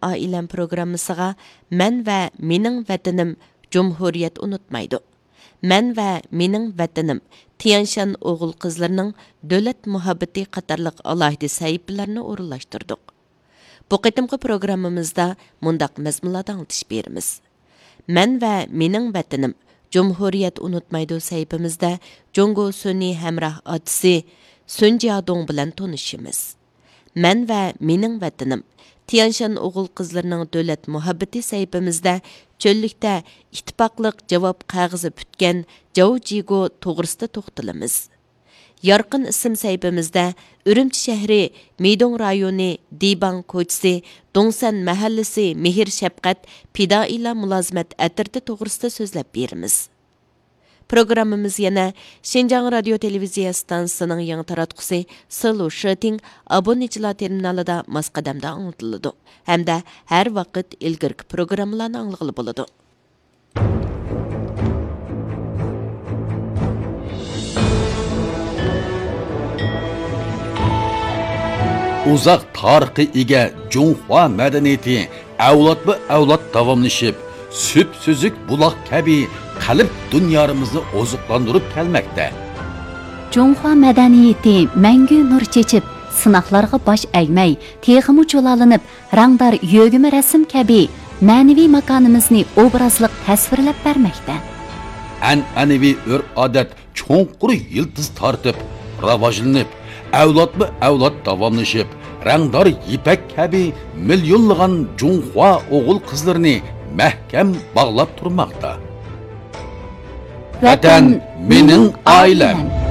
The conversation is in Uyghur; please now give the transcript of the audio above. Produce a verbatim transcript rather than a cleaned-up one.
ئائىلەم پروگراممىسىغا مەن ۋە مېنىڭ ۋەتىنىم جۇمھۇرىيەت ئۇنتۇمايدۇ، مەن ۋە مېنىڭ ۋەتىنىم تيەنشان ئوغۇل-قىزلىرىنىڭ دۆلەت مۇھەببىتى قاتارلىق ئالاھىدە سەھىپىلەرنى ئورۇنلاشتۇردۇق. بۇ قېتىمقى پروگراممىمىزدا مۇنداق مەزمۇنلاردا ئاڭلىتىش بېرىمىز. مەن ۋە مېنىڭ ۋەتىنىم جۇمھۇرىيەت ئۇنتۇمايدۇ سەھىپىمىزدە جۇڭگو سۈنئىي ھەمراھ ئاتىسى سۈن جيادۇڭ بىلەن تونۇشىمىز. مەن ۋە مېنىڭ ۋەتىنىم تيەنشان ئوغۇل-قىزلىرىنىڭ دۆلەت مۇھەببىتى سەھىپىمىزدە چۆللۈكتە ئىتتىپاقلىق جاۋاب قەغىزى پۈتكەن جاۋ جىگو توغرىسىدا توختىلىمىز. يارقىن ئىسىم سەھىپىمىزدە ئۈرۈمچى شەھىرى مىدوڭ رايونى دىباڭ كوچىسى دوڭسەن مەھەللىسى مېھىر-شەپقەت پىدائىيلار مۇلازىمەت ئەترىتى توغرىسىدا سۆزلەپ بېرىمىز. پروگراممىمىز يەنە شىنجاڭ رادىيو تېلېۋىزىيە ئىستانسىسىنىڭ يېڭى تاراتقۇسى سىلۇ شىتىڭ ئابۇنىچىلار تېرمىنالىدا ماس قەدەمدە ئاڭلىتىلىدۇ ھەمدە ھەر ۋاقىت ئىلگىرىكى پروگراممىلارنى ئاڭلىغىلى بولىدۇ. ئۇزاق تارىخقا ئىگە جۇڭخۇا مەدەنىيىتى ئەۋلادمۇ ئەۋلاد داۋاملىشىپ، سۈپسۈزۈك بۇلاق كەبى قەلب دۇنيارىمىزنى ئوزۇقلاندۇرۇپ كەلمەكتە. جۇڭخۇا مەدەنىيىتى مەڭگۈ نۇر چېچىپ، سىناقلارغا باش ئەگمەي، تېخىمۇ جۇلالىنىپ، رەڭدار يۆگىمە رەسىم كەبى مەنىۋى ماكانىمىزنى ئوبرازلىق تەسۋىرلەپ بەرمەكتە. ئەنئەنىۋى ئۆرپ-ئادەت چوڭقۇر يىلتىز تارتىپ، راۋاجلىنىپ، ئەۋلادمۇ ئەۋلاد داۋاملىشىپ، رەڭدار يىپەك كەبى مىليونلىغان جۇڭخۇا ئوغۇل-قىزلىرىنى مەھكەم باغلاپ تۇرماقتا. ۋەتەن، مېنىڭ ئائىلەم.